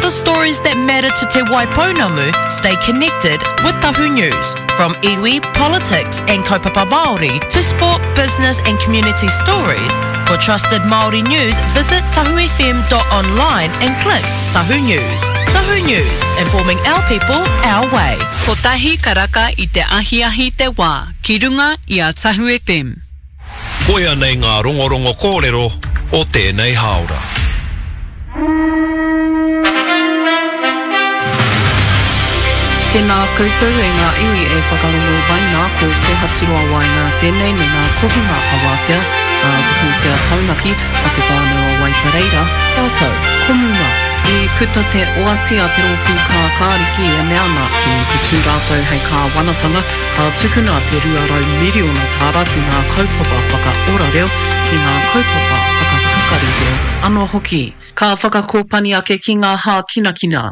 the stories that matter to Te Waipounamu, stay connected with Tahu News. From iwi, politics and kaupapa Māori to sport, business and community stories, for trusted Māori news, visit tahufm.online and click Tahu News. Tahu News, informing our people our way. Kotahi karaka i te ahiahi te wā, ki runga i a Tahu FM. Koia nei ngā rongorongo kōrero o tēnei hāora. Tēnā koutou e ngā iwi e whakarongo mai nā, ko Kōhaturoa Waenga tēnei me ngā kohinga awātea a te pūtea taunaki a Te Whānau o Waipareira rātou ko Muma. I puta te oati a te rōpū kākāriki e mea ana ki te tū rātou hei kāwanatanga Ka tukuna te 200 miriona tāra ki ngā kaupapa whakaora reo, ki ngā kaupapa whakapakari reo anō hoki. Ka whakakōpani ake ki ngā hākinakina.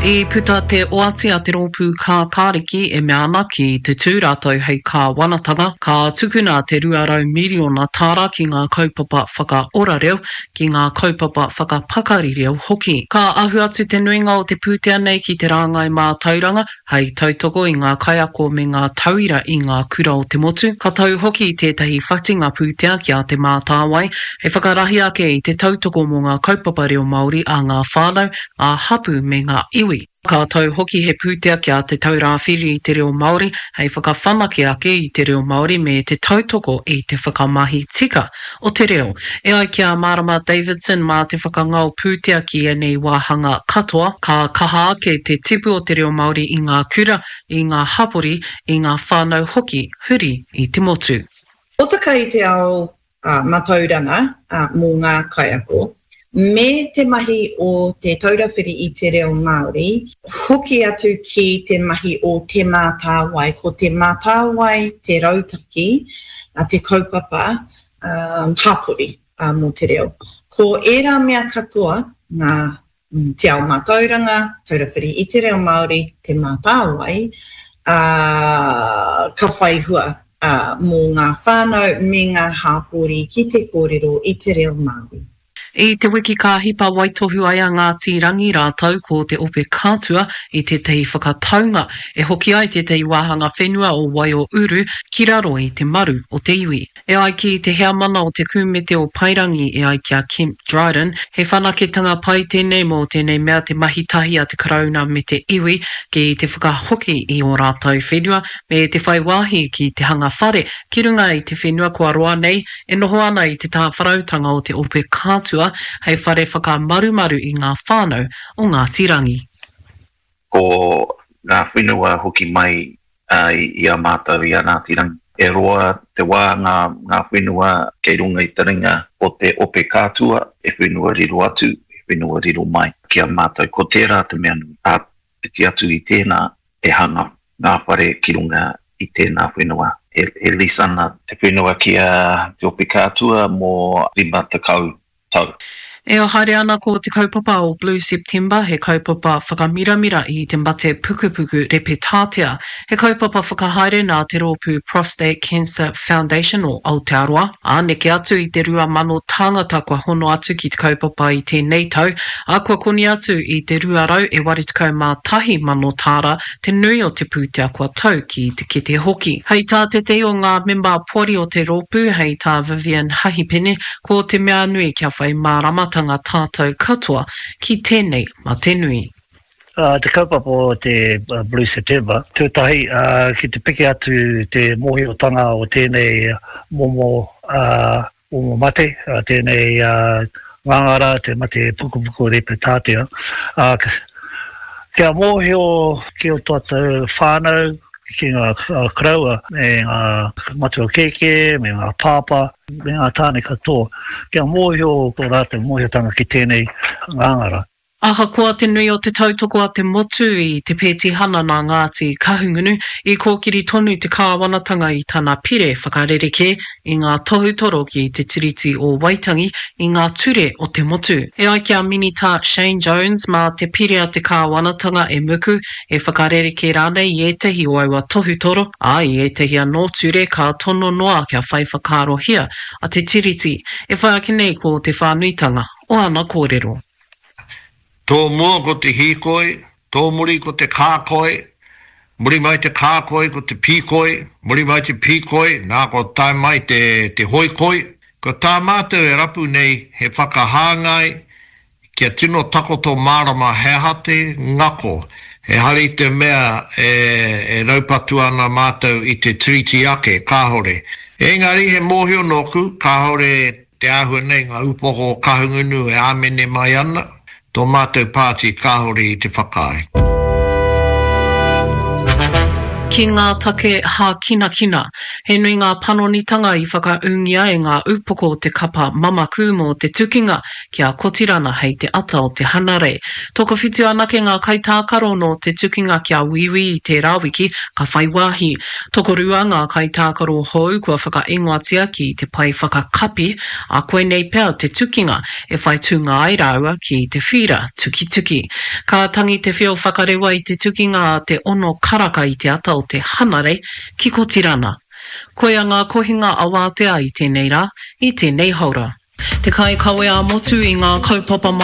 I puta te oati a te rōpū Kākāriki e mea ana ki te tū rātou hei kāwanatanga, ka tukuna te 200 miriona tāra ki ngā kaupapa whakaora reo, ki ngā kaupapa whakapakari reo hoki. Ka ahu atu te nuinga o te pūtea nei ki te rāngai mātauranga, hei tautoko i ngā kaiako me ngā tauira i ngā kura o te motu. Ka tau hoki tētahi whatinga pūtea ki a Te Mātāwai, hei whakarahi ake i te tautoko mō ngā kaupapa reo Māori a ngā whānau, ngā hapū me ngā iwi. Ka tau hoki he pūtea ki a Te Taura Whiri i te Reo Māori hei whakawhanake ake i te reo Māori me te tautoko i te whakamahi tika o te reo. E ai ki a Marama Davidson mā te whakangao pūtea ki ēnei wāhanga katoa, ka kaha ake te tipu o te reo Māori i ngā kura, i ngā hapori, i ngā whānau hoki huri i te motu. Hōtaka i te ao matauranga mō ngā kaiako, me te mahi o Te Taura Whiri i te Reo Māori, hoki atu ki te mahi o Te Mātāwai. Ko Te Mātāwai te rautaki, te kaupapa hapori mō te reo. Ko ērā mea katoa ngā Te Ao Mātauranga, Taura Whiri i te Reo Māori, Te Mātāwai, ā, ka whai hua mō ngā whānau me ngā hāpori ki te kōrero i te reo Māori. I te wiki ka hipa waitohu ai a Ngāti Rangi rātou ko Te Ope Kātua i tētahi whakataunga e hoki ai tētahi wāhanga whenua o Waiouru ki raro i te maru o te iwi. E ai ki te heamana o te Kūmete o Paerangi e ai ki a Kemp Dryden, he whanaketanga pai tēnei mō tēnei mea te mahi tahi a te Karauna me te iwi ki te whakahoki i ō rātou whenua me te whai wāhi ki te hanga whare ki runga i te whenua kua roa nei e noho ana i te tāwharautanga o te Ope Kātua hei whare whakamarumaru i ngā whānau o Ngāti Rangi. Ko ngā whenua hoki mai i a mātou i a Ngāti Rangi. E roa te wā ngā ngā whenua kei runga i te ringa o te ope kātua, he whenua riro atu, he whenua riro mai ki a mātou. Ko tērā te mea nui. Āpiti atu i tēnā, e hanga ngā whare ki runga i tēnā whenua. E lease ana te whenua ki a te ope kātua mō 50 tau. E haere ana ko te kaupapa o Blue September, he kaupapa whakamiramira i te mate pukupuku repetātea. He kaupapa whakahaere nā te rōpū Prostate Cancer Foundation o Aotearoa, ā, neke atu i te 2,000 tāngata kua hono atu ki te kaupapa i tēnei tau, ā, kua koni atu i te 281,000 tāra te nui o te pūtea kua tau ki te kete hoki. Hei tā tētehi o ngā mema poari o te rōpū, hei tā Vivian Hahipene, Ko te mea nui kia whai māramatanga tātou katoa ki tēnei mate nui. Te kaupapa o te Blue September, tuatahi ki te piki atu te mōhiotanga o tēnei momo momo mate, tēnei ngāngara, te mate pukupuku repetātea, kia mōhio ki o tātou whānau, ki ngā koroua me ngā matua kēkē, me ngā pāpā, me ngā tāne katoa, kia mōhio tō rātou mōhiotanga ki tēnei ngāngara. Ahakoa te nui o te tautoko a te motu i te pētihana nā Ngāti Kahungunu, i kōkiri tonu te kāwanatanga i tana pire whakarerekē i ngā tohutoro ki te Tiriti o Waitangi i ngā ture o te motu. E ai ki a Minita Shane Jones, mā te pire a te kāwanatanga e muku, e whakarerekē rānei i ētahi o aua tohutoro, ā, i ētahi anō ture ka tono noa kia whai whakaarohia a te Tiriti. E whai ake nei ko te whānuitanga. o ana kōrero. Tō mua ko te hīkoi, tō muri ko te kākoi, muri mai te kākoi ko te pīkoi, muri mai te pīkoi, nā kua tae mai te, te hoikoi. Ko tā mātou e rapu nei he whakahāngai kia tino takoto mārama he aha te ngako, ehara i te mea e, e raupatu ana mātou i te Tiriti ake, kāore. Engari he mōhio nōku, kāore Te āhua nei ngā upoko o Kahungunu e āmene mai ana, tō mātou pāti kāore i te whakaae. Ki ngā take hākinakina. He nui ngā panonitanga i whakaūngia e ngā upoko o te kapa mamaku mō te tukinga ki a Kotirana hei te ata o te Hanarei. Tokowhitu anake ngā kaitākaro nō te tukinga ki a Wīwī i tērā wiki ka whai wāhi. Tokorua ngā kaitākaro hou kua whakaingoatia ki te pae whakakapi, ā, koinei pea te tukinga e whai tūnga ai rāua ki te whīra tukituki. Ka tangi te whio whakarewa i te tukinga a te ono karaka i te ata o te Hanarei ki Kotirana. Koia ngā kohinga awātea i tēnei rā, i tēnei haora. Te kaikawe ā-motu i ngā kaupapa Māori.